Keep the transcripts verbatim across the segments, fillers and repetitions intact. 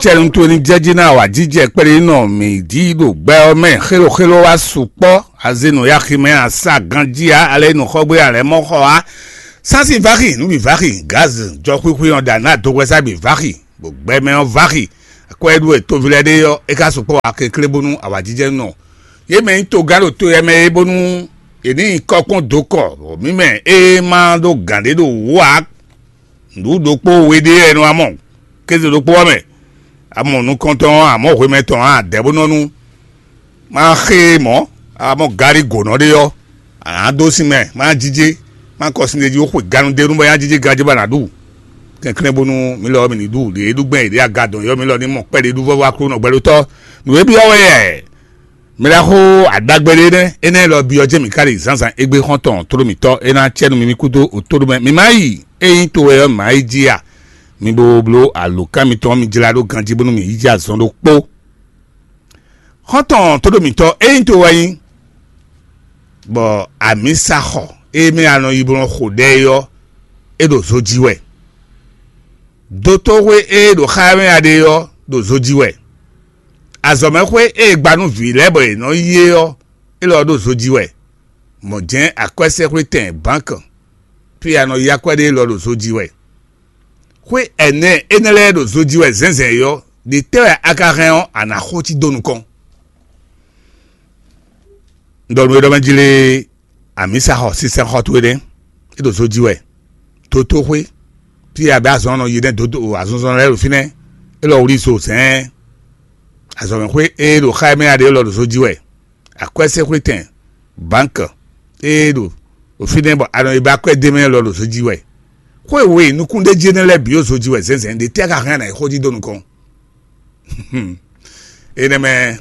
Cɛnu towe ní jɛ jí ná wǎjijɛ kplé nɔ mǐ jí ɖo gbɛ ɔ́ mɛ xéloxélo wá sukpɔ́. Azenu ya ximɛ asa ganjí ǎ, alɛ nǔxɔgbé alɛ mɔ xɔ á. Sási vaxi, nǔ bǐ vaxi, gaz jɔxwíxwí ɔ́ ɖa ná dohwɛsá bǐ vaxi, bɔ gbɛmɛ ɔ́ vaxi. Akwɛ́ ɖu e toví lɛ́ɛ ɖe ɔ́, é ka sukpɔ́ wá kéklé bónú awǎjijɛ nɔ. Yě mɛ nyí togán ɖo to yɛ mɛ é bónú è ní nyí kɔ́kpɔ́n dó kɔ, bɔ mǐ mɛ é ma ɖó gǎn ɖé ɖo wǔ ǎ. Nǔ ɖokpó we ɖé wɛ nɔ wá mɔ, kéze ɖokpó ɔ́ mɛ. A mɔ nukɔntɔn ɔ́, a mɔ hwemɛ tɔn ɔ́, a dɛ̌ bó nɔ nú. Má xé mɔ̌, a mɔ gari gǒnɔ ɖé ɔ́, a nǎ dó sin mɛ, má jijé, má kɔ sin ɖé jí, ó xwe ganu d'é nú bɔ é ná jijé ganjí bɔ a nǎ ɖu. Kɛnklɛ́n bónú mi lɔ ɔ́ mi ní ɖu, ɖě é ɖu gbɛn è ɖě aga dɔn yɔ́ mi lɔ ní mɔ kpɛɖé ɖu vɔ́vɔ́ Aklúnɔ gbɛɖótɔ́. Nǔ e byɔ́ wɛ yɛ. Mɛ ɖaxó aɖagbe ɖé nɛ́, énɛ́ lɔ byɔ́ jɛ́n mǐ ká ɖe zǎnzǎn égbé xɔ́ntɔn tló mǐtɔn é ná acɛ nú mi mì kúdó òtó ɖó mɛ. Mi má yi, ényí to wɛ ɔ́, mǐ má yi jí a? Mi bo bló alǒkan mitɔn mi jlá ɖó ganjí bónú mǐ yi jí azɔn ɖokpó. Xɔ́ntɔn tló mǐtɔn, ényí to wɛ nyí, bɔ amǐ sa xɔ, ée mɛ a nɔ yi bó nɔ xo ɖɛ é ɔ́, é ɖo zo jí wɛ. Dotóxwé e ɖo xá ɛ mɛ a ɖe ɔ́, ɖo zo jí wɛ. Azɔ̌mɛxwé e è gba nú vǐ lɛ́ɛ bɔ yě nɔ yí é ɔ́, é lɔ ɖo zo jí wɛ. Mɔ̌ jɛ́n akwɛ́sɛ́xwétɛn bǎnkɔ, fí e a nɔ yí akwɛ́ ɖe é lɔ ɖo zo jí wɛ. Xwé ɛnɛ énɛ́ lɛ́ɛ ɖo zo jí wɛ zɛ̌nzɛ̌n é ɔ́, ɖě tɛ́ wɛ a ka hɛn ɔ́, a nǎ xo cí dó nukɔn? Un ɖɔ nú we ɖɔ mɛ jí lé, amǐ sa xɔ sísɛ́n xɔ towe nɛ́, é ɖo zo jí wɛ. Dotóxwé, fí e a bɛ azɔn nɔ yi nɛ́ dǒdó azɔnzɔn lɛ́ɛ ɖo fínɛ́, é lɔ wlí zo zɛ̌ɛn. Azɔ̌mɛxwé e ɖo xá ɛ mɛ a ɖe é lɔ ɖo zo jí wɛ. Akwɛ́sɛ́xwétɛn, bǎnkɔ, e ɖo fínɛ́ bɔ a nɔ yi ba akwɛ́ d'é mɛ lɔ ɖo zo jí wɛ. Xwé we nukúnɖéjí énɛ́ lɛ́ɛ bǐ ɖo zo jí wɛ zɛ̌nzɛ̌n, ɖě tɛ́ ka hɛn a nǎ yi xó jí dó nukɔn? Énɛ́ mɛ,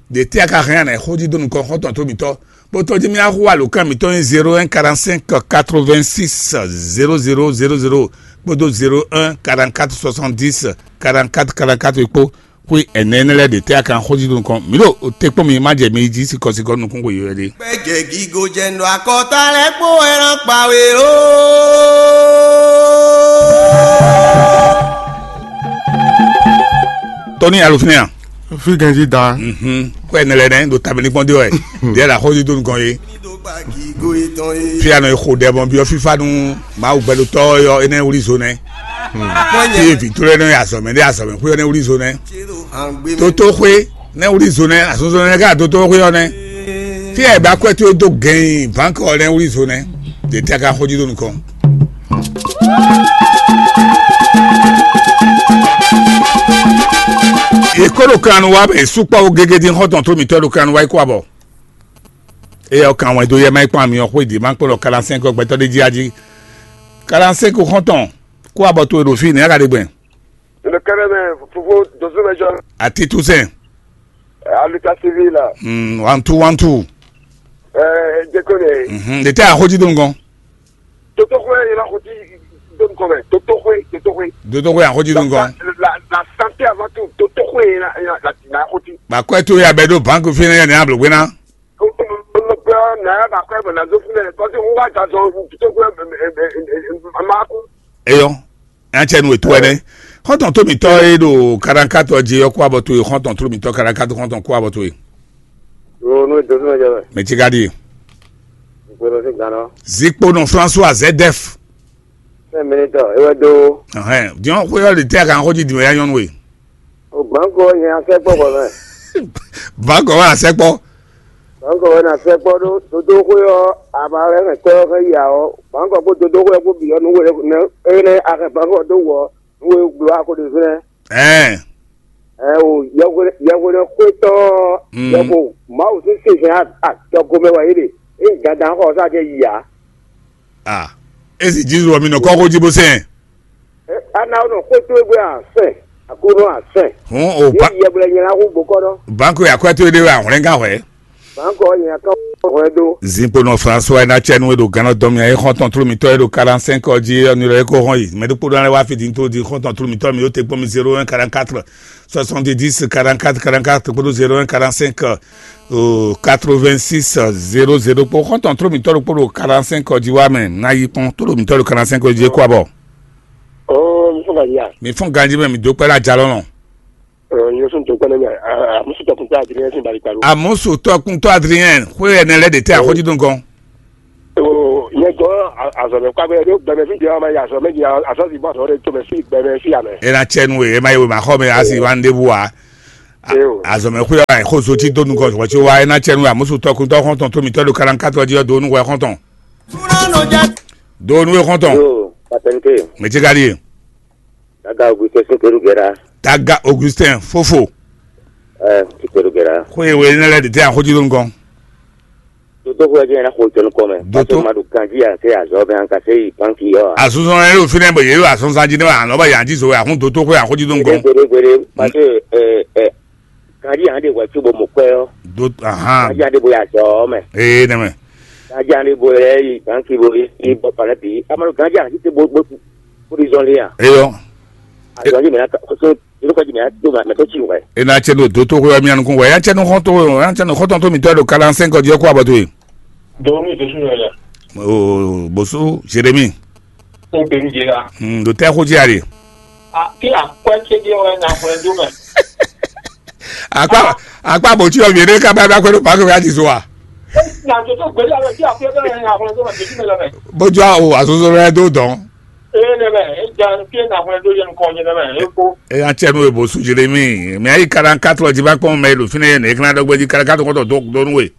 ɖě tɛ́ ka hɛn a nǎ yi xó jí dó nukɔn xɔ́ntɔn tó mǐtɔn? Bó tɔ́ jí mì axú alǒkan mǐtɔn nyí zéro un quarante cinq quatre vingt six zéro zéro zéro zéro kpódó zéro un quarante quatre soixante dix quarante quatre quarante quatre kpó. Xwé ɛnɛ énɛ́ lɛ́ɛ ɖě tɛ́ a ka xójí nukɔn? Mǐ ɖo te kpɔ́n mi, má jɛ mi jí sikɔsikɔ nukún xwe yɔ̌yɔ́ ɖé. Kpɛjɛ gigo jɛ nɔ akɔta lɛ kpó wɛ nɔ kpa we lo. Tɔni alofínɛ a? Fi ganji da. Mhm. Xwé ɛnɛ lɛ́ɛ nɛ ɖo tabɛ́ ní kpɔ́n dé wɛ. Ɖě la xójí dó nukɔn yé. Fi anɔ e xo ɖɛ bɔn byɔ́ fífá nú Mawu gbɛɖotɔ́ ɔ́ yɔ énɛ́ wlí zo nɛ́. Fí e vǐ tló énɛ́ azɔ̌mɛ ɖé azɔ̌mɛ xwé ɔ́ nɛ́ wlí zo nɛ́. Tótóxwé nɛ́ wlí zo nɛ́, azɔnzɔn nɛ́ ká tótóxwé ɔ́ nɛ́. Fí e ba kwɛ́ towe dó gɛ̌n bǎnkɔ ɔ́ nɛ́ wlí zo nɛ́. Ɖě tɛ́ ka xójú dó nukɔn. Yě kó ɖo kan nu wá bɛ sukpɔ́ wo gégé dín xɔ́ntɔn tó mǐtɔn ɖo kan nu wá yi kó abɔ. Eye ɔ́ kan wɛn dó yɛ má yi kpɔ́n amyɔ xwé dě má kpɔ́n ɖɔ quarante-cinq ɔ́ gbɛtɔ́ ɖé jí a jí. Quarante-cinq xɔ́ntɔn kó abɔ towe ɖo fí nɛ̌ a ka ɖe gbɛn? Le kɛnɛ mɛ fofo dozo mɛ jɔ. Ati toussaint. Aluka civil la. Hmm, one two one two. Ɛɛ jeko ne. Mhm, de tɛ a xójí dó nukɔn. Toto xwe yɛlɛ xójí dó nukɔn mɛ. Toto xwe, toto xwe. Dodo xwe a xójí dó nukɔn. La la santé avant tout. Toto xwe yɛlɛ la la xójí. Ba kɔɛ to ya bɛ ɖo banque fi ne yɛ ne a blogbe na. Eyɔ, nya cɛ nu etu ɛnɛ. Xɔntɔn to mitɔ e ɖo karankatɔ dzi yɔ kó abɔ to ye, xɔntɔn to mitɔ karankatɔ xɔntɔn kó abɔ to ye. Mɛ tsi ka ɖi ye. Zikponɔ François Zedef. Sɛ minitɔ ewɛ do. Ɛhɛn, diɔn xwe yɔ le tɛ kan xɔ dzi di wɛ ya nyɔnu we. O banko nyɛ asɛ kpɔ kɔ mɛ. Banko wa asɛ kpɔ. Banko wɛ na sɛ kpɔ ɖo dodo xwe ɔ aba wɛ hɛn tɔ xɛ yi awɔ. Banko kó dodo xwe kó bi ɔnu wele ne eye ne axɛ banko do wɔ nu we gblɔ ako de zɛ. Ɛɛ. Ɛ o yɛhwe yɛhwe ne xwe tɔ. Mm. Yɛhwe mawu sese hɛn a a tɔ gomɛ wɛ yi de. E gada xɔ sa jɛ yi a. Ah, esi Jesu wɔ mi nɔ kɔkɔ dzi bo sɛn. Ana wonɔ xwé towe gbe asɛn, Aklúnɔ asɛn. Hɔn o ba. Yɛ gblɛ nyɛ la xú gbokɔ dɔ. Banko ya kwɛ towe de wɛ ahwlɛn gan hwɛ. Banko nyɛ ka hwɛ do. Zinkponɔ François ena cɛ nu e ɖo gannɔ dɔn mia e xɔntɔn tlo mitɔ e ɖo quarante-cinq ɔ dzi ɔ ni lɔ e ko hɔn yi. Mɛ ɖokpo ɖɔ lɛ wá fi din to di xɔntɔn tlo mitɔ mi o te kpɔn mi zéro un quarante-quatre soixante-dix quarante-quatre quarante-quatre kpódó zéro un quarante-cinq quatre-vingt-six zéro zéro kpó xɔntɔn tlo mitɔ ɖokpo ɖo quarante-cinq ɔ dzi wá mɛ na yi kpɔn to ɖo mitɔ ɖo quarante-cinq ɔ dzi e kó abɔ. Oo, mi fún gǎnjá. Mi fún ganji mɛ mi dó kpɛɖe ajalɔ nɔ. Nyɔsɔn tó kpɛnɛ mɛ. Amusu tɔkun tó Adrien sin bali kpalo. Amusu tɔkun tó Adrien, xwe ɛnɛ lɛ de tɛ axɔji dun gɔn. Nyɛ gɔn azɔmɛ kpakpɛ ɖo gbɛmɛ fi jɛ ma ya azɔmɛ di azɔ si bɔ azɔ de to mɛ fi gbɛmɛ fi amɛ. E na cɛ nu e ma ye ma xɔ mɛ asi wa nde bu wa. Azɔmɛ xwe wa xo so ti do nu gɔn xɔ ti wa e na cɛ nu amusu tɔkun tɔ xɔntɔn to mi tɔ do kalan katɔ di do nu wɛ xɔntɔn. Do nu wɛ xɔntɔn. Yo, patɛnke. Mɛ ti ka di ye. Daga Augustin Sinkeru Gera. Daga Augustin fofo. Ɛ, Sinkeru Gera. Xwe we ne lɛ de te axɔji do nu gɔn. Doto xwe jɛ na xo tɔnu kɔmɛ. Doto. Parce que ma ɖo kanji ya se azɔ bɛ an ka se yi banki yɔ. Azɔzɔ yɛ ɖo fi nɛ bɔ yɛ ɖo azɔzɔ ji ne wa anɔ ba yan ji zo wɛ ahun doto xwe axɔji do nu gɔn. Gbede gbede gbede parce que ɛ ɛ kanji ya ɖe wɛ tso bɔ mo kpɛ yɔ. Do ahan. Kanji ya ɖe bo ya zɔ mɛ. Ee nɛmɛ. Kanji ya ɖe bo yɛ yi banki bo yi bɔ palɛ bi. Amalo kanji ya ti te bo bo bo di zɔn le ya. Eyɔ. Azɔ ji mɛ na ka ko so. Yóò kɔji mɛ do ma mɛ tó tsi wɛ. E na cɛ ɖo do to xwe wɛ mi anukun wɛ ya cɛ nu xɔn to ya cɛ nu xɔtɔn to mi tɔ ɖo kalan sɛn kɔji ɔkɔ abɔ to ye. Dɔwɔnu Jesu yɛ lɛ. O bosu Jeremi. Tó pé mi jẹ la. Hmm, do tɛ xo jí ari. A kí akwɛ tse di wɛ na xɔlɛ do mɛ. Akpa akpa bò tí ɔmì ɖé ká bá bá kɔnɔ pàákì wíwá ti so wa. Na tó tó gbèdé alɔ tí akwɛ bẹ́ẹ̀ na xɔlɛ do mɛ Jesu mɛ lɛ mɛ. Bójú àwọn àtúntò rẹ tó dán. Ee nɛmɛ, e ja fie na hwlɛn dó yɛ nukɔn nyɛ nɛmɛ, e ko. Eya cɛ nu ebo su Jeremi, mɛ ayi quarante-quatre ɔ́ jí va kpɔn mɛ e ɖo fínɛ́ yɛ nɛ̌ é ká ná ɖɔ gbɛ́ jí quarante-quatre ɔ́ kɔn tɔ dó dó nú we.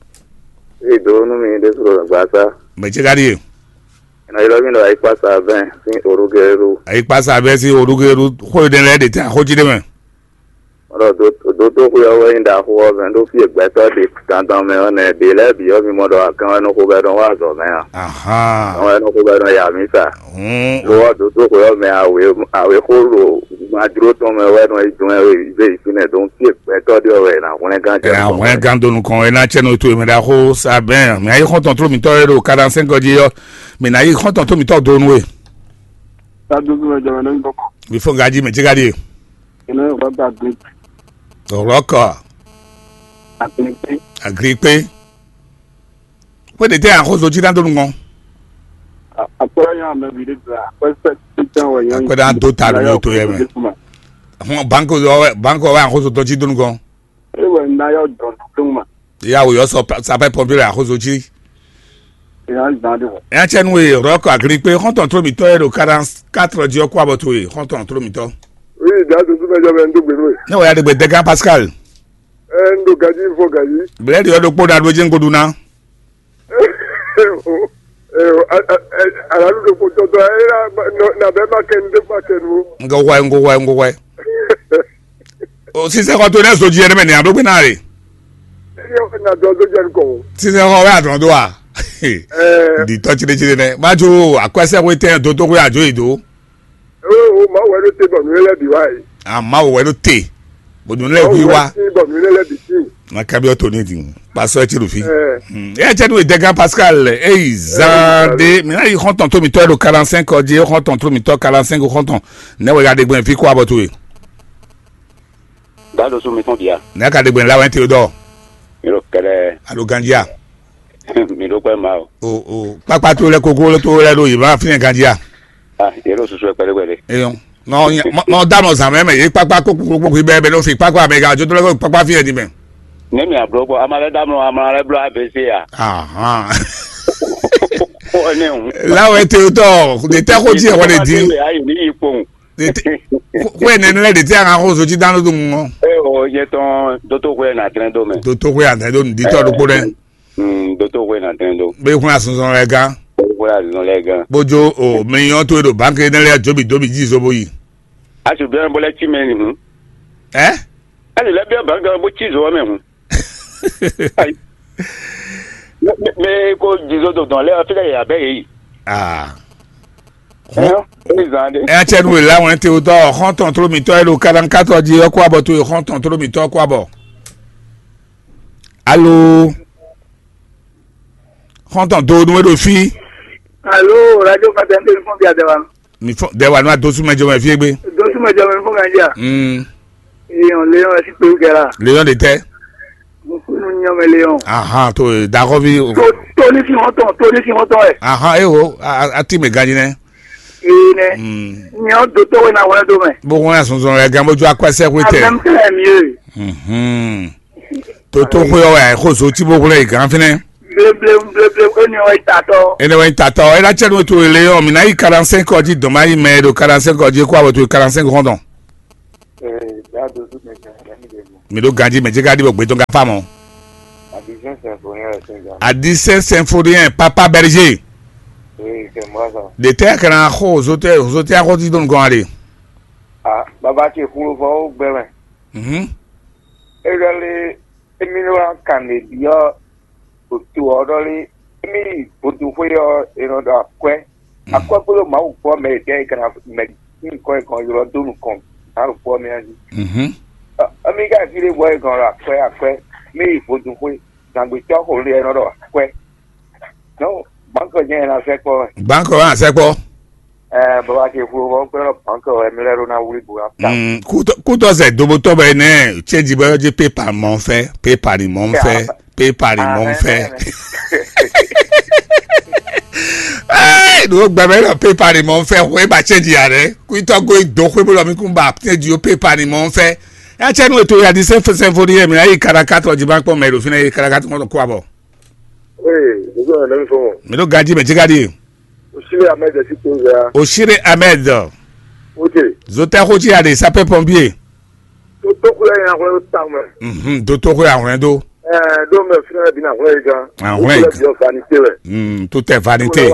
Ee dó nú mi ɖésú ɖo gbasa. Mɛ ce ka ɖíe. Ɛnɔ ylɔ́ mì ɖɔ ayikpasa bɛn sín orúgɛ́rú. Ayikpasa bɛn sín orúgɛ́rú xó ɖé lɛ́ɛ ɖe tɛn axó jí ɖé mɛ. Ɖo dotóxwé ɔ́ wɛ nyí ɖaxó ɔ́ mɛ ɖó fí e gbɛtɔ́ ɖe dandan mɛ ɔ́ nɛ́, ɖě lɛ́ɛ bǐ ɔ́ mi mɔ ɖɔ agán wɛ nɔ xo bɔ é nɔ wá azɔ̌ mɛ a? Agán wɛ nɔ xo bɔ é nɔ ya amǐsa. Lo ɔ́, dotóxwé ɔ́ mɛ awě awě xó ɖo gbajló tɔn mɛ wɛ nɔ yi dɔn wɛ zé yi fínɛ́, donc fí e gbɛtɔ́ ɖe ɔ́ wɛ è nǎ hwlɛ́n gán jɛ nukɔn. Hwlɛ́n gán dó nukɔn, é ná cɛ nú towe mɛ ɖaxó Sabɛn. Mɛ ayé xɔ́ntɔn tló mǐtɔn e ɖo Kaɖansɛ́n gɔ́ jí ɔ́, mǐ ná yí xɔ́ntɔn tló mǐtɔn dó nú we. Tá dúdú mɛ jɔmɛ nɔ nyí bɔkɔ. Mi fɔ gají mɛ jí gaɖí e. Ina yo baba gbe. Rɔkɔ. Agbe. Agri kpe. Kpé ɖe tɛ axɔzɔ jí ná dó nukɔn. Akpɔlɔ nyɔ ame vi ɖe gbla. Akpɛ sɛ titɛ wɛ nyɔ. Akpɛ ɖe ado ta ɖo to yɛ mɛ. Hɔn banko wɛ banko wɛ axɔzɔ tɔ jí dó nukɔn. Ewɛ na yɔ dɔn dɔn ma. Ya wo yɔ sɔ sapɛ pɔmpier axɔzɔ jí. Ina zan de wɔ. Eya cɛ nu ye rɔkɔ agri kpe xɔntɔn tro mitɔ ye ɖo quarante-quatre jí ɔkɔ abɔ to ye xɔntɔn tro mitɔ. Oui, da dusu mɛ jɔ mɛ n dó gbe nú ye. Ne wòye aɖegbe Dɛgan Pascal. Ɛ n ɖo gaji fɔ gaji. Blɛɖi ɔ ɖokpó ɖa ɖó jɛ́n goɖu ná. Alalu ɖokpó tɔtɔ ɛ na bɛ ma kɛ nu ɖe ma kɛ nu. Ŋgɔ hwɛ ŋgɔ hwɛ ŋgɔ hwɛ. O sisan xɔ to ne zo jí ɛnɛ mɛ ni a ɖó gbé ná rè. Ɛ na dɔ dó jɛ nukɔ. Sisan xɔ wɛ adɔn do a. Di tɔ tsi ɖe tsi ɖe nɛ ma jo akwɛsɛ ko tɛ do to ko ajo yi do. O o ma wɛ ɖo te bɔ nu lɛ bi wa yi. A ma wɛ ɖo te. Bɔ nu lɛ bi wa. Bɔ nu lɛ bi si. Ma kabi ɔtɔ ne di. Pasɔ etsi ɖo fi. Ɛ cɛ nu edɛgan Pascal eyi zan de mi na yi xɔntɔn to mi tɔ ɖo quarante-cinq ɔdi xɔntɔn to mi tɔ quarante-cinq xɔntɔn ne wɛ ya de gbɛn fi kó abɔ to ye. Dado su mi tɔn bia. Ne ka de gbɛn la wɛ te dɔ. Mi ɖo kɛlɛ. Alo ganjia. Mi ɖo kpɛ ma o. O o kpakpa to lɛ koko to lɛ ɖo yi ma fi ne ganjia. Ah, yɛ ɖo susu yɛ kpɛɖé kpɛɖé. Eyɔn. Nɔ nɔ da nɔ zan mɛ mɛ ye kpakpa kpokpo kpokpo bɛ bɛ n'o fi kpakpa mɛ ka jo to lɛ ko kpakpa fi yɛ di mɛ. Ne mi ablo bɔ ama lɛ damlɔ ama lɛ blo A B C ya. Ahan. Ko ne ŋu. La wɛ te tɔ de tɛ ko ti wɔ de di. Ayi ni yi kpɔn. De te ko ne ne de te an ko so ti dan do ŋɔ. E o ye tɔn doto ko na tɛn do mɛ. Doto ko ya tɛn do di tɔ do ko dɛ. Hmm, doto ko na tɛn do. Be kun asunzɔn lɛ gan. Ko ya zɔn lɛ gan. Bojo o mi yɔn to do banque ne lɛ jobi dobi ji so bo yi. Asu bien bo lɛ ti mɛ ni hun. Eh? Ɛni lɛ biɔ bangɔ bó ci zɔ mɛ hun. Ayi. Mɛ ko jizo do dɔn lɛ ɔfi lɛ yɛ abɛ yɛ yi. Ah. Ɛyɔ, ɛni zan de. Ɛ cɛ nu la wɛn te o tɔ xɔntɔn tro mi tɔ elo kalan katɔ di ɔkɔ abɔ to xɔntɔn tro mi tɔ ɔkɔ abɔ. Alo. Xɔntɔn do nu e ɖo fi. Alo, radio patɛnte fún bi adɛwa. Mi fɔ dɛ wa nua dosu mɛ jɔmɛ fie gbe. Dosu mɛ jɔmɛ fún ganja. Mm. Eyan leon esi pe gɛra. Leon de tɛ. Mukunu nyɔmɛ leon. Ahan to dakɔvi. To to ni fi hɔntɔn to ni fi hɔntɔn ɛ. Ahan ewo a a ti mɛ ganyi nɛ. Ee nɛ. Hmm. Nyɛ ɔ́, dotó we ná hwlɛ́ dó mɛ. Bó hwlɛ́n azɔnzɔn lɛ gán bó jó akwɛ́sɛ́xwé tɛ. Amɛm tɛ lɛ mi e. Mhm. Toto xwe ɔ́ wɛ xó zo tí bó hwlɛ́n yi gán fínɛ́. Bleblem bleblem, éni ɔ́ wɛ tatɔ. Énɛ́ wɛ nyí tatɔ ɔ́, é ná cɛ nú towe lé ɔ́, mǐ ná yi quarante-cinq ɔ́ jí dɔn má yi mɛ e ɖo quarante-cinq ɔ́ jí é kó awɔ towe quarante-cinq xɔ́ntɔn. Ee, dá dodú mɛ gán, gán ní ɖe mɔ. Mǐ ɖó ganjí mɛ jí ká ɖi bɔ gbé tɔn ká fá mɔ. Adisɛn sɛnfoni ɛ sɛn gán. Adisɛn sɛnfoni ɛ papa bɛrije. Ee, kɛ mɔ sa. Ɖe tɛ kana xo zotɛ zotɛ axɔ ti dɔn gɔn ale. A baba ce xuló fɔ ó gbɛ mɛ. Mhm. É ɖɔ lé émí wá kan lě byɔ́ to ɔ́ ɖɔ lé émí yi vodúnxwé ɔ́ è nɔ ɖɔ akwɛ́. Akwɛ́ kpódó Mawu gbɔ mɛ e dɛ́ è kana mɛ nyí nukɔn è kɔn ylɔ́ dó nukɔn Mawu gbɔ mɛ ɔ́ jí. Mhm. Ɔ, émí ka fí ɖé bɔ è kɔn ɖɔ akwɛ́ akwɛ́ mí yi vodúnxwé zǎngbetɔ́ xo lé è nɔ ɖɔ akwɛ́. Nɔ́ bǎnkɔ jɛ́n è nɔ sɛkpɔ́ wɛ. Bǎnkɔ wɛ a sɛkpɔ́. Ɛɛ baba ce xu ɔ́ kpɛ́ ɖɔ bǎnkɔ wɛ mi lɛ́ ɖó ná wlí bo ná ta. Mm, kútɔ kútɔ zɛ dobotɔ bɛ nɛ cɛji bɛ ɔdzi pepa mɔ fɛ pepa ni mɔ fɛ pepa ni mɔ fɛ. Ee ɖo gbɛmɛ lɔ pepa ni mɔ fɛ xwe ba cɛji ya ɖɛ kútɔ go do xwe bó lɔ mi kún ba cɛji o pepa ni mɔ fɛ. Ya cɛ nu eto ya di sɛnfoni yɛ mi ayi karakatɔ ji ba kpɔ mɛ ɖo fi na ye karakatɔ kɔ abɔ. Oui, bonjour, un ami fort. Mi ɖo ganji mɛ jigadi. Osile Ahmed si to ya. Osile Ahmed. Ok. Zotɛ xo ci ya de sapeur pompier. To to xo ya ya xo ta me. Mhm, do to xo ya hwɛn do. Eh, do me fina bi na xo ya ga. Ah, xo ya vanité we. Mm, tout est vanité.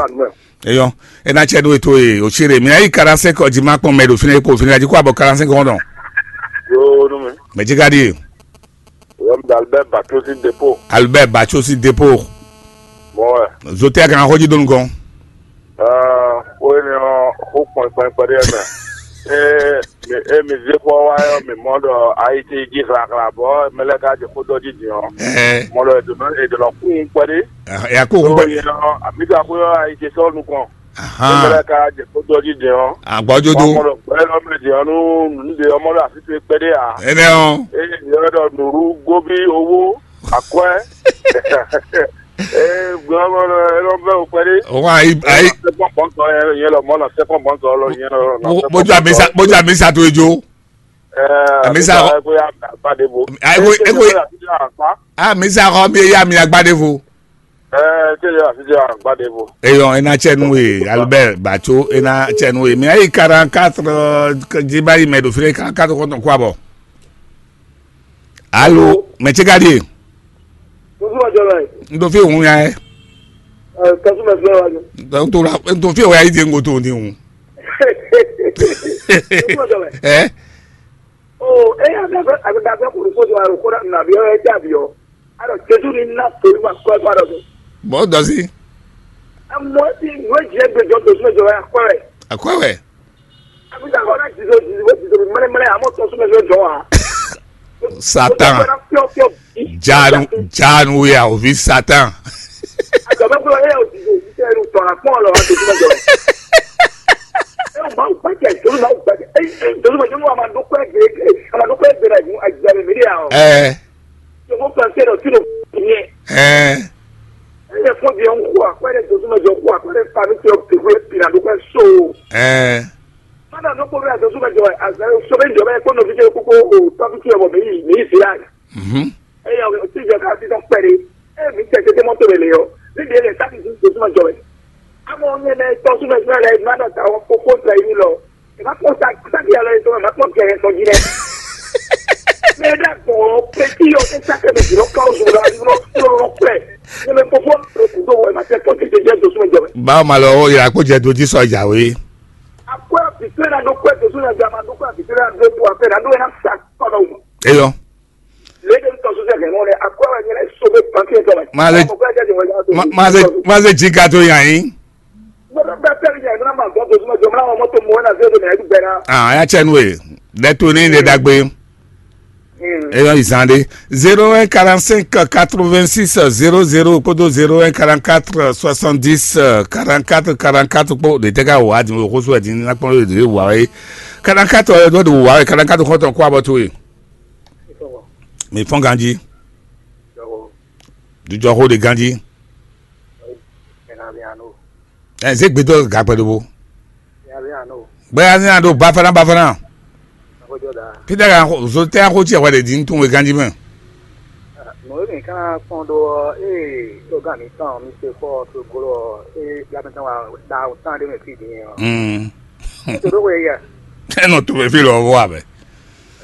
Eyɔ, e na cɛ do eto e Osile. Mi ayi quarante-cinq heures du matin kpɔn mɛ do fina ko fina ji ko abɔ quarante-cinq heures dɔn. Yo, no me. Mɛ jigadi. Wɛm da Albert Bachosi Depo. Albert Bachosi Depo. Mɔ wɛ. Zote a kan xɔji donu gɔn. Ɛɛ, o ye ni ɔ xo kpɔn kpɔn kpɔn de mɛ. Ee, mi e mi ze xɔ wa yɔ mi mɔ dɔ ayi ti ji xlaxla bɔ mɛ lɛ ka je xo dɔ ji din ɔ. Ɛɛ. Mɔ dɔ edonɔ edonɔ kun kpɔn de. Ya ko kun kpɔn. Yɛ ɔ, mi ka xo yɔ ayi ti sɔ nukɔn. Ahan. Nígbà ká jẹ kó dɔjú jẹ ɔ́. Àgbọ́jó dó. Ọmọ rẹ̀ pẹ́ lọ́mọ jẹ ọ́nú níbi ọmọ rẹ̀ àfi tó pẹ́ dé à. Ẹnẹ ɔ. Eye ìyẹn lọ nùrú góbí owó àkọ́ ẹ. Ee gbé ọmọ rẹ̀ ẹ lọ bẹ́ òpẹ́ dé. Òun àyí àyí. Sẹ́kọ̀n pọ̀ntọ̀ yẹn lọ mọ́ lọ sẹ́kọ̀n pọ̀ntọ̀ lọ yẹn lọ. Bójú àmísà bójú àmísà tó ejò. Àmísà kọ́. Eko eko. Àmísà kọ́ mi yá mi agbádévo. Ɛɛ, tɛ yɛ afi tɛ agbade vo. Eyɔ ena tsɛ nu ye Albert Batso ena tsɛ nu ye mi ayi quarante-quatre. Dzi ba yi mɛ ɖo fi ɖe quarante-quatre kɔntɔn kó abɔ. Alo mɛ tse ka ɖi ye. Tuntun ma jɔ la ye. N ɖo fi hun ya yɛ. Ɛɛ, kasu mɛ fila wa jɔ. N to la n to fi o ya yi di n ko to ni hun. Tuntun ma jɔ la ye. Ɛ. Oo, eya bɛ fɛ a bɛ da fɛ kuru fo jɔ aro ko na na bi ɔ ɛ ja bi ɔ. Alo Jesu ni na to ni ma kɔ ɛ kɔ alo. Bɔ dɔsi. Amɔ ti nue jɛ gbe jɔ to sumɛ jɔ ya kɔ ɛ. Akɔ wɛ. Ami ta kɔ na jizo jizo jizo mɛlɛ mɛlɛ amɔ to sumɛ jɔ jɔ wa. Satan. Fiɔ fiɔ. Janu janu ya ovi Satan. Agaba ko e o jizo jizo e tɔ la kpɔn lɔ wa to sumɛ jɔ. E o ma gba jɛ jolu ma gba jɛ e jolu ma jolu ma do kɔ gbe e ma do kɔ gbe na ju agbɛrɛ mi de ya o. Ɛɛ. Jɔnmɔ fɛn fɛn dɔ tí lo nyɛ. Ɛɛ. Ɛyɛ fɔ bi ɔn kó akɔɛ dɛ dozumɛ jɔ kó akɔɛ dɛ fa mi tɛ o tɛgbɛ pina do kɔ so. Ɛɛ. Mana no kó bɛ dozumɛ jɔ azɛ so bɛ jɔ bɛ kó nɔvi tɛ kókó o tɔbi tɛ wɔ mɛ yi mɛ yi se ya. Mhm. Eya o ti jɛ ka ti tɔ kpɛri. E mi tɛ tɛ mɔ to bɛ le yɔ. Ni de le ta ti dozumɛ jɔ bɛ. Amɔ nyɛ mɛ tɔ sumɛ jɔ lɛ ma dɔ ta wɔ kókó tɛ yi lɔ. Ɛ má kpɔ́n sa sábì alɔ yìí tó ma má kpɔ́n kɛ yɛ sɔjí dɛ. Mɛ ɖe agbɔn pɛtí yɔ tɛ sákɛ mi jùlɔ ká oṣù lọ àti lọ lọ lọ pẹ. Ní mi kókó lọ kú tó wọ ẹ má tẹ kpɔ́n títí jẹ́ dosú mi jọ mɛ. Báwo ma lọ ó yà kó jẹ dojú sọ ìjà wé. Akpẹ́ àbísẹ́ náà ló pẹ́ dosú náà jẹ́ àmà ló pẹ́ àbísẹ́ náà ló pọ̀ àfẹ́ náà ló yẹ náà sà kọ́nà wò. Eyɔ. Lédè ń tọ́sí sẹ́kẹ̀ mọ́ rẹ̀ akpẹ́ wà nyẹ́rẹ́ sọ́gbẹ́ pàǹkì ẹ̀ tọ́ mẹ́. Má lè má má lè má lè jí ká tó yàn yín. Ah, ya cɛ nu ye. Dɛ to ne de dagbe. Eyɔ izan de. Zéro un quarante-cinq quatre-vingt-six zéro zéro kpódó zéro un quarante-quatre soixante-dix quarante-quatre quarante-quatre kpó de tɛ ka wò adi wò kóso ɛdi ní nakpɔn de wò wá wɛ. Quarante-quatre ɔyɔ dɔ de wò wá wɛ quarante-quatre kɔntɔn kó abɔ to ye. Mi fɔn ganji. Dujɔ xo de ganji. Ɛ zé gbedɔ gakpɛ ɖobo. Gbɛ́ nya ɖo bafana bafana. Xójó ɖa. Peter kan xo zo tɛ xo tiɛ wɛ ɖe din tun we ganji mɛ. Nǔ e mǐ ka ná kpɔ́n ɖó ɔ́, ée togán mǐtɔn mi se kpɔ́ ɔ, Soglo ɔ́, ée bla mǐtɔn wa ɖa tán ɖé mɛ fí din ɔ́. Mm. Tó ɖó xwe yɛ. Enɔ to mɛ fi lɔ vɔ abɛ.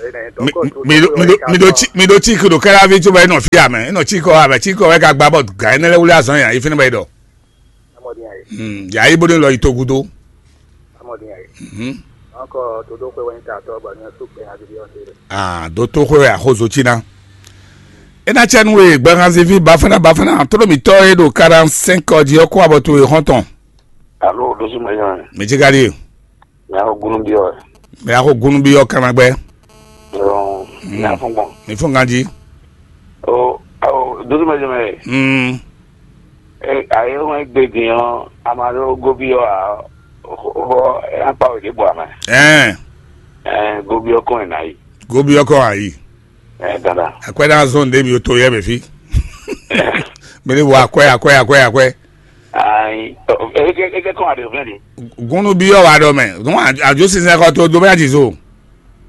Ée nɛ Mi dɔkɔ to mi do mi do mi do tsi mi do tsi kudo kɛra vi tso bɛ enɔ fi amɛ enɔ tsi kɔ abɛ tsi kɔ wɛ ka gba bɔ ga enɛ lɛ wuli azɔn ya ifi ne bɛ dɔ. Amɔdi ya ye. Hmm, ya yi bo ne lɔ yi to gudo. Amɔdi ya ye. Mhm. Encore todo xwe wɛ ta tɔ bɔ ne su kpɛ avi ɔ́ te. Ah, do to xwe wɛ axozo tsi na. Ena tsɛ nu e gbɛhanzivi bafana bafana tolo mitɔ e ɖo quarante-cinq ɔdi ɔ́ kó abɔ to e xɔntɔn. Alo, dosu mɛ yɔn. Mɛ tsi ka ɖi. Mɛ axɔ gunu bi ɔ. Mɛ axɔ gunu bi ɔ kama gbɛ. Ɔn, mɛ afɔ gbɔn. Mi fún ganji. O, o, dosu mɛ jɛ mɛ. Mm. E, ayi ɔ́ wɛn gbe din ɔ́, ama ɖo gobi ɔ́ a, xɔ, xɔ, akpa wɛ ɖě bɔ amɛ. Ɛn. Ɛn, gobi ɔ́ kɔn ɛ nǎ yi. Gobi ɔ́ kɔn ayi. Ɛn, dandan. Akwɛ ɖe azɔn ɖe mi to yɛ mɛ fi. Mi ni wɔ akwɛ akwɛ akwɛ akwɛ. Ayi, ɔ, eke, eke kɔn aɖe fɛn de. Gúnú bí ɔ́ wá ɖɔ mɛ, gún àjò sísè kɔ tó dó bá jì so.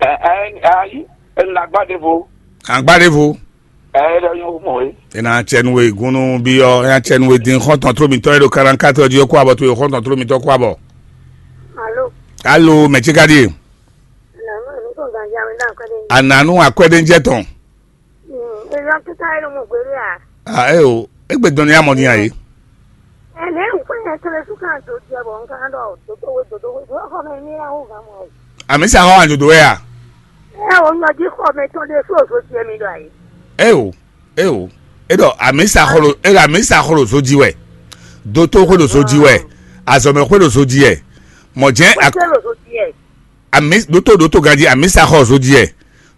Ɛ, ɛ, ayi, ɛ, nàgbá ɖevo. Àgbá ɖevo. Ɛ, ɛ, ɖɔ yín mɔ é. Ena tsɛnu we gúnú bí ɔ́, ena tsɛnu we dín xɔntɔn tó mitɔ e ɖo karankátrɔ jí ɔ́ kó abɔ tó yɔ xɔntɔn tó mitɔ kó abɔ. Alo. Alo, mɛ tsi ka ɖie. Alo, mi kò ganja mi dá akwɛ́ ɖe. Ananu akwɛ́ɖéjɛ tɔn. Mm, èèyàn kíkà ẹni mo gbèrú à. Ah, ẹ o, egbe dɔnni amọ ni ayi. Ẹ lè ń pè é kéré sún kan tó tiẹ̀ bọ̀ nǹkan dọ̀ dòdòwe dòdòwe dòdòwe kọ́ mẹ ní àwọn ọ̀gá mọ̀ ọ́. Àmì sàkọ́ wà dòdò wẹ̀ à. Ẹ o, ń yọjú kọ́ mẹ tó lé sóòsó tiẹ̀ mi dọ̀ àyè. Ẹ o, ẹ o, ẹ dọ̀ àmì sàkọ́lò, ẹ dọ̀ àmì sàkọ́lò sójì wẹ̀, dótó xwé lò sójì wẹ̀, àzọ̀mẹ̀ xwé lò sójì ẹ̀, mọ̀ jẹ́. Ó ṣe lò sójì ẹ̀. Ami doto doto ganji amisa xɔ zojiyɛ,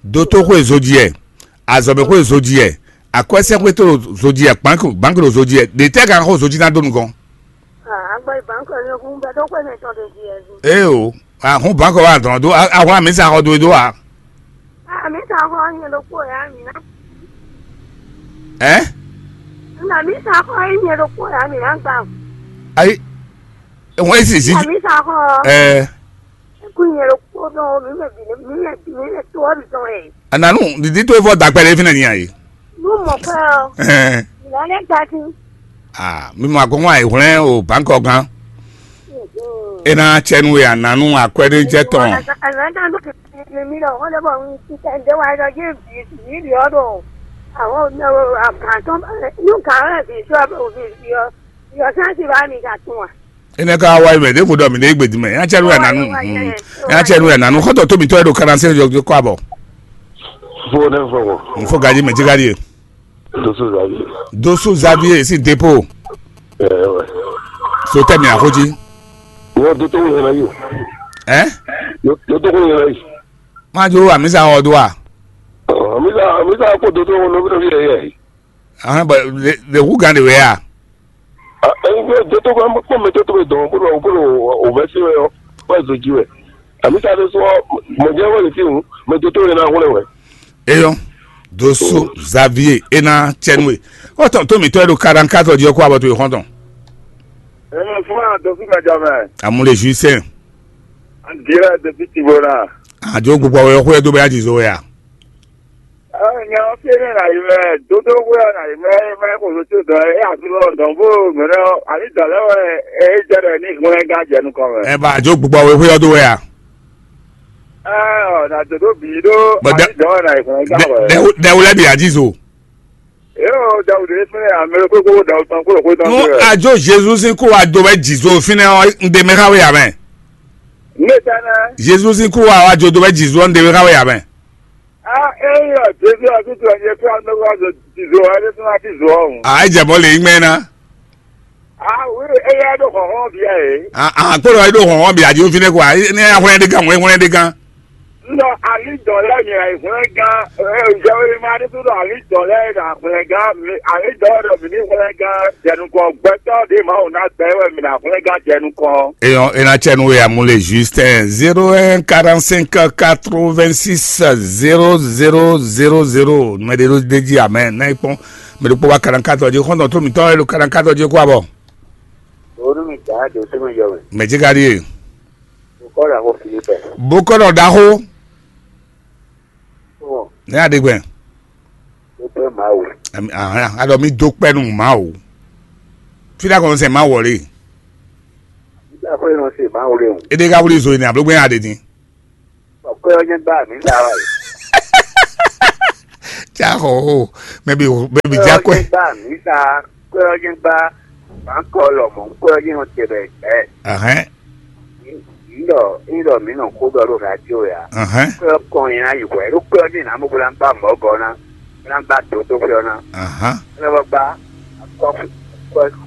doto xwe zojiyɛ, azɔbe xwe zojiyɛ, akwɛsɛ xwe to zojiyɛ, banki banki ɖo zojiyɛ, ɖe tɛ gan xɔ zoji na do nukɔn. Agba banki ɔ́ nyɔ́ fún gbɛdɔ́ xwe mɛ tɔn ɖe jí ɛ. Ee o, ahun banki wa dɔn do ahun amisa xɔ do do wa. Amisa xɔ nyɛ ɖokpó ya mi na. Ɛ? Amisa xɔ nyɛ ɖokpó ya mi na gba. Ayi, wọn esi zi. Amisa xɔ. Ɛ. Kú nyɛ ɖokpó nɔ mí mɛ bǐ mí mɛ bǐ mí mɛ tó ɔ́ bǐ tɔn wɛ. Ananu didi to evɔ dagbe ɖe fínɛ nya yi. Nú mɔ kɔ ɔ. Ɛɛ. Ìlànà gba sí. Ah, mi mɔ akɔngɔ ayi hwlɛn o bankɔ gan. Ena tsɛnu ya nanu akwɛɖe jɛ tɔn. Àgbàdo kìkì mi lọ wọ́n lè bọ̀ ń ṣiṣẹ́ ǹdẹ́ wa lọ yé bìí bìí bìí ọ̀dọ̀ àwọn àkàtọ́ ní kàárẹ̀ bìí sọ bìí bìí ọ bìí ọ sáà ti bá mi kà tún wa. Ene ka wa mɛ ɖe ko ɖɔ mi ɖe gbe di mɛ ya tsɛ ɖo ya nanu. Ya tsɛ ɖo ya nanu xɔtɔ to mi tɔ ɖo kana se jɔ kɔ abɔ. Fo ne fo ko. N fo gaji mɛ ti gaji. Dosu zabi. Dosu zabi si depo. Eh ouais. So tɛ mi axoji. Wo do to wo na yo. Eh? Do to wo na yi. Ma jo amisa o do a. Amisa amisa ko do to wo no bi ye ye. Ahɔn bɔ le le hu gan de wɛ a. Ɛngbɛ dótógbé kpɔn mɛ dótógbé dɔn bolo bolo o bɛ se wɛ ɔ bɛ zo ji wɛ. Amisa de sɔ mɔdze wɛ le fi ŋu mɛ dótógbé na wlɛ wɛ. Eyɔn doso Xavier ena tsɛnue. Ɔtɔn tó mi tɔ ɛ ɖo kaɖankatɔ di ɔkɔ abɔ to exɔntɔn. Ɛnɛ fún wa dɔ fún mɛ jɔ mɛ. Amu le juisɛn. An dirɛ de fi ti bo na. Adzo gbogbo awɛ xɔ ɛ do bɛ ya di zo wɛ a. Nya ɔ́ fí énɛ́ ná yi mɛ dódó xwé ɔ́ ná yi mɛ mɛ xo so tó dɔn é asú lɔ dɔn bó mɛnɛ ɔ́ àní dɔ̌ lɛ́ wɛ é jɛ ɖɔ ní hwlɛ́n gán jɛ nukɔn mɛ. Ɛ ba adzo gbogbo awe xwé ɔ́ dó wɛ a? Ɛ ɔ nà dòdó bǐ ɖó Bɔ dɛ- àní dɔ̌ wɛ ná yi hwlɛ́n gán wɛ. Dɛwu lɛ bi adzizo. Yóò dawudu yé fúnlẹ̀ àmì kókó dawudu tán kúrò kó tán Nú kúrò. Adzo Jezu sín kú wa do wɛ dzizo fínɛ ɔ́, ń de mɛ xá wé yà mɛ. Ní ìtánná. Jezu sín kú wa wa jo do wɛ dzizo ɔ́, ń de mɛ xá wé yà mɛ. A eyɔ Jezu ɔtútù ɛni e fí anúgbàzò tìzò ɛni fún wa tìzò ɔ̀hún. A é jɛ mɔ lè yí mɛ ná. A wí eyɔ ɖó xɔxɔn bíyà yìí. A a kpɔ́ lɔ é ɖó xɔxɔn bíyà jí fínɛ́ kɔ a ní a hwlɛ́n ɖé gán wɛn hwlɛ́n ɖé gán. Nɔ alidɔn lɛ mi ayi hwlɛ́n gán ɛ jɛwé ma ní tó nɔ alidɔn lɛ na hwlɛ́n gán mi alidɔn lɛ mi ní hwlɛ́n gán jɛnukɔ gbɛtɔ ɖé ma wò ná gbɛ wɛ mi na hwlɛ́n gán jɛnukɔ. Eyɔn ena tsɛ nu ya mu le Justin zéro un quarante cinq quatre vingt six zéro zéro zéro zéro mɛ ɖe ɖo ɖe jí amɛ n'a yi kpɔn mɛ ɖo kpɔ wa quarante quatre ɔdi xɔntɔn tó mi tɔ ɛ ɖo quarante quatre ɔdi kó abɔ. Onu mi gã do sɛmɛ yɔ mɛ. Mɛ jí ka ɖi ye. Kɔ́ ɖaxó Filipɛ. Bó kɔ́ ɖɔ ɖaxó. Ɔn, ní aɖegbɛ. Ó pé Mawu. Aɖɔ mi dó kpɛ́ nú Mawu. Fí ɖé akɔnɔ sɛn Mawu ɔ́ lé. Nígbà pé nɔ se Mawu lé o. Éɖé ká wlí zo ní ablógbé aɖe ní. Ɔkɔ́ ɔ́ nyɛ gbá mi sa wá. Tsa xɔ o, mɛ bi mɛ bi dza kɔɛ. Gbá mi sa, kɔ́ ɔ́ nyɛ gbá. Bǎnkɔ lɔmɔ̌, kɔ́ ɔ́ nyɛ nɔ te bɛ gbɛ. Ahɛn. Ńdɔ ńdɔ mǐ nɔ xó ɖɔ ɖo radio ya. Ahɛn. Kɔ́ ɔ́ kɔn nyi ná yi hwɛ ɖó kɔ́ ɔ́ ɖi nǎ mɔ bó ná gbá mɔ̌ gɔ́ ná, bó ná gbá dǒ tó xwé ɔ́ ná. Ahán. Bó ná vɔ gbá akɔ́ kɔ́